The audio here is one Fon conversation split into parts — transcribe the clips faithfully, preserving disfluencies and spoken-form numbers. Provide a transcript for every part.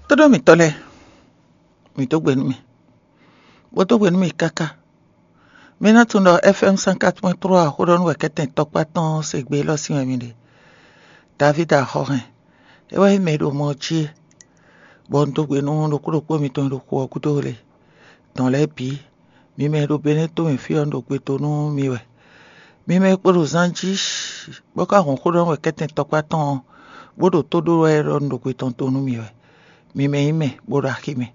Tóɖó mǐtɔn lɛ́ɛ, mǐ dó gbe nú mì, bó dó gbe nú mì káká. Mi ná tunwun ɖɔ F M cent quatre point trois xó ɖɔ nú wɛ̌kɛ́tɛn tɔkpá tɔn se gbe élɔ́ sín wɛ mi ɖe. Davídi axɔ́ hɛn, é wɛ nyí mɛ e ɖo mɔ ɔ́ jí é, bɔ un dó gbe nú ɖokpó ɖokpó mitɔn e ɖo xu ɔ́ gúdo le dɔn lɛ́ɛ bǐ. Mi mɛ e ɖo Benɛ́ to mɛ fí ɔ́, un ɖo gbe dó nú mi wɛ. Mi mɛ e kpo ɖo zan jí, bó ka hɔn xó ɖɔ nú wɛ̌kɛ́tɛn tɔkpá tɔn ɔ́, bó ɖo tó ɖó wɛ ɖɔ un ɖo gbe tɔn dó nú mi wɛ. Mi mɛ nyí mɛ, bó ɖo axi mɛ.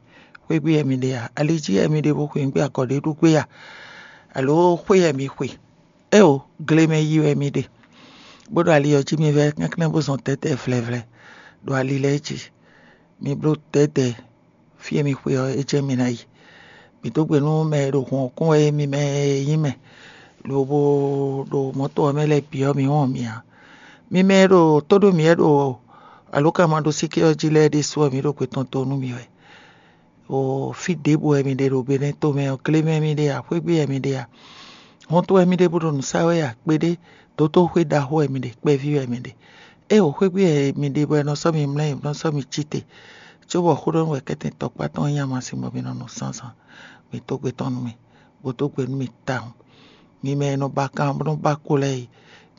Xwé gbe wɛ mi ɖe a? Ali jí wɛ mi ɖe bó xweyǐgbe agɔ̌ ɖé ɖu gbé a? Alǒ xwé wɛ mi xwe? Éeǒ, gle mɛ yi wɛ mi ɖe, bó ɖo ali ɔ́ jí mi vɛ́ kɛ́nklɛ́n bó zɔn dɛ̌dɛ̌ vlɛ̌vlɛ́ ɖo ali lɛ́ɛ jí. Mi bló dɛ̌dɛ̌ fí e mi xwe ɔ́, é jɛ́n mi ná yi. Mǐ dó gbe nú mɛ e ɖo hǔn ɔ́ kún wɛ é, mi mɛ e nyí mɛ lobo ɖo mɔ̌to ɔ́ mɛ lɛ́ɛ bǐ ɔ́, mi wɔn mì ǎ. Mi mɛ e ɖo tó ɖó mǐ wɛ ɖo alǒkanmaɖósíké ɔ́ jí lɛ́ɛ ɖésú ɔ́, mǐ ɖo gbe tɔn dó nú mi wɛ. O fí ɖěbǔ wɛ mi ɖe ɖo Benɛ́ tomɛ ɔ́, gle mɛ mi ɖe a, xwé gbe wɛ mi ɖe a, hɔnto wɛ mi ɖe bó ɖo nǔ sa wɛ a, kpeɖé dǒtoxwé ɖaxó wɛ mi ɖe, kpɛví wɛ mi ɖe. Éeǒ, xwé gbe wɛ mi ɖe bɔ è nɔ sɔ́ mi mlɛ́, è nɔ sɔ́ mi cí te, cóbɔ xó ɖɔ nú wɛ kɛ́tɛn tɔkpá tɔn nyí amasin bɔ mi nɔ nu zǎnzǎn. Mi dó gbe tɔn nú mì, bó dó gbe nú mì tawun. Mi mɛ e nɔ ba kan bó nɔ́ ba ko lɛ́ɛ e,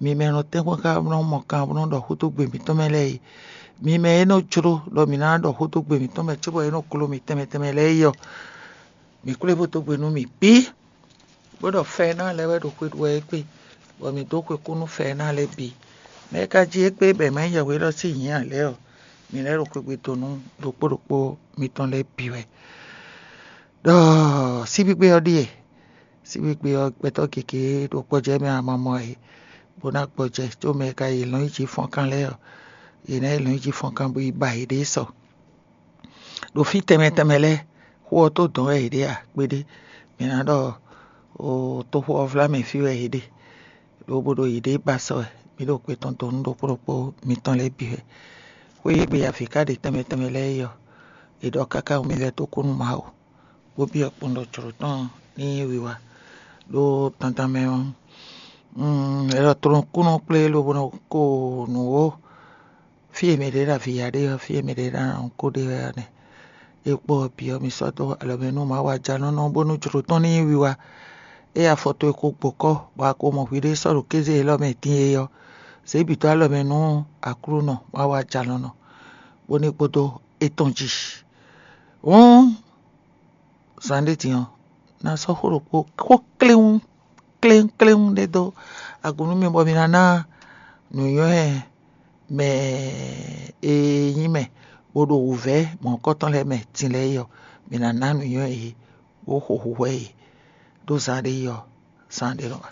mi mɛ e nɔ tɛ́nkpɔ́n xá bó nɔ́ mɔ kan bó nɔ́ ɖɔ xó dó gbe mǐtɔn mɛ lɛ́ɛ e, mi mɛ e nɔ jló ɖɔ mǐ ná ɖɔ xó dó gbe mǐtɔn mɛ cóbɔ é nɔ gló mì tɛnmɛ tɛnmɛ lɛ́ɛ é ɔ́, mǐ kplé bó dó gbe nú mì bǐ, bó ɖɔ fɛ́ ná lɛ́ɛ wɛ ɖo xwe ɖu wɛ égbé, bɔ mǐ dó xwe kú nú fɛ́ ná lɛ́ɛ bǐ. Mɛ e ka jí égbé bɔ è ma nyí yɛhweɖɔ sín nyǐ ǎ lɛ́ɛ ɔ́, mǐ lɛ́ ɖo xwegbe dó nú ɖokpó ɖokpó mitɔn lɛ́ɛ bǐ wɛ. Ɖɔ síbígbe ɔ́ ɖíe, síbígbe ɔ́ gbɛtɔ́ gěgé ɖo kpɔ́jɛ́ mɛ amamɔ e, bó ná gbɔjɛ có mɛ e ka yi lɔn yi jí fɔ́nkan lɛ́ɛ ɔ́, yě ná yi lɔn yi jí fɔ́nkan bó yi ba yěɖée sɔ. Ɖo fí tɛnmɛ tɛnmɛ lɛ́ɛ, xó ɔ́ tó dɔn wɛ yě ɖe a? Kpeɖé. Mǐ ná ɖɔ toxo ɔ́ vlá mɛ fí wɛ yě ɖe, lobo ɖo yěɖée ba sɔ wɛ. Mǐ ɖo kpe tɔn dó nú ɖokpó ɖokpó mitɔn lɛ́ɛ bǐ wɛ. Xwé e gbe avǐ ka ɖe tɛnmɛ tɛnmɛ lɛ́ɛ é ɔ́, è ɖɔ káká nú mì vɛ́ tó kú nú Mawu, bó byɔ́ kpɔ́n ɖɔ jlǒ tɔn ní nyí wiwa. Ɖó dandan mɛ ɔ́, è ɖɔ tlɔ́nkúnɔ kplé lobo nɔ ko nǔ ó. Fí e mɛ ɖě ɖo avǐ ya ɖe ɔ́, fí e mɛ ɖě ɖo anɔ̌ ko ɖe wɛ ɔ́ nɛ́. É kpó ɔ́ bǐ ɔ́, mi sɔ́ dó alɔ mɛ nú Mawu ajalɔ́nɔ bónú jlǒ tɔn ní nyí wiwa. Ée afɔ towe ko gbǒ kɔ́, bɔ a ko mɔ hwiɖée sɔ́ ɖo kéze élɔ́ mɛ din é ɔ́, zě bǐ dó alɔ mɛ nú Aklúnɔ Mawu ajalɔ́nɔ, bónú é kpódó étɔn jí. Hǔn zǎn ɖé din ɔ́, ná sɔ́ xó ɖokpó xó kléwún kléwún kléwún ɖé dó agun nú mi, bɔ mi ná ná nǔnywɛ́ mɛ e nyí mɛ bó ɖo wǔvɛ́ mɔ̌hunkɔtɔn lɛ́ɛ mɛ din lɛ́ɛ é ɔ́, mi ná ná nǔnywɛ́ yě, bó xo hwǐhwɛ́ yě ɖó zǎn ɖé yi ɔ́, zǎn ɖé nɔ wá.